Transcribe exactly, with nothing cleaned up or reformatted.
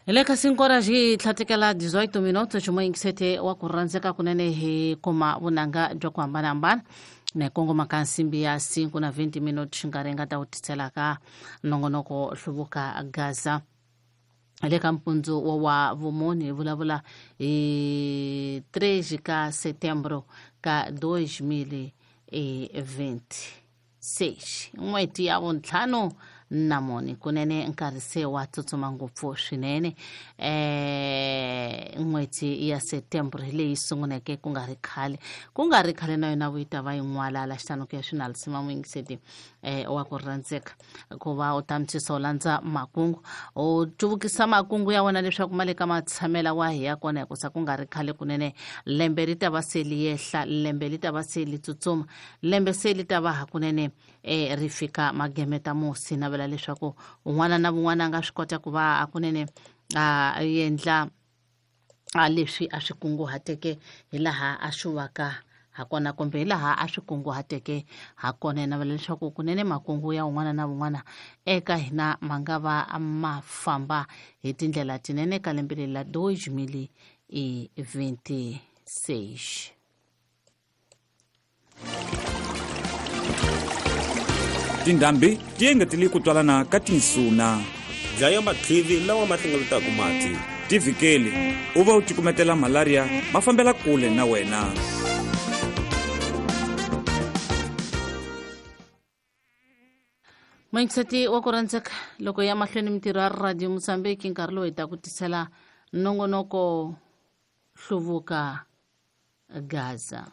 Hi le ka cinco horas hi tlhatekela dezoito minutos ximoyingisete wa ku rhandzeka kunene hi kuma vunanga bya ku hambanahambana na kongoma ka nsimbi ya cinco na vinte minutos nkarhi nga ta wu tisela ka nongonoko hluvuka Gaza. Le ka mpundzu wa wa vumune hi vulavula hi treze ka setembro ka dois mil e vinte e seis, n'hweti ya vuntlhanu na mune. Kunene nkarhi se wa tsutsuma ngopfu swinene. Eh n'hweti ya setembro hi leyi sunguleke ku nga ri khale, ku nga ri khale na yona vuyi ta va yin'walala xitano ku ya swinalisima muyingiseti eh wa ku rhandzeka ku va u tamtshisa u landza makungu, u cuvukisa makungu ya wena leswaku ma le ka matshamela wa hi ya kona, hikusa ku nga ri khale kunene lembe ri ta va se li yehla, lembe li ta va se li tsutsuma, lembe se li ta va hakunene eh ri fika magemeta musi. Navela leswaku un'wana na un'wana a nga swi kota ku va hakunene a endla a leswi a swi kunguhateke hi laha a swi vaka hakona, kumbe hi laha a swi kunguhateke hakona. Navela leswaku kunene makungu ya un'wana na un'wana eka hina ma nga va ma famba hi tindlela tinene ka lembe leri la dois mil e vinte e seis. Tindhambi ti engetele ku twalana ka tinsuna, dlaya matlivi lawa ma hlengeletaka mati, ti vhikeli u va u cukumetela malaria ma fambela kule na wena. Moyingiseti wa ku rhandzeka, loko ya mahlweni mintirho ya Radio Mozambique nkarhi lowu hi ta ku tisela nongonoko hluvuka Gaza.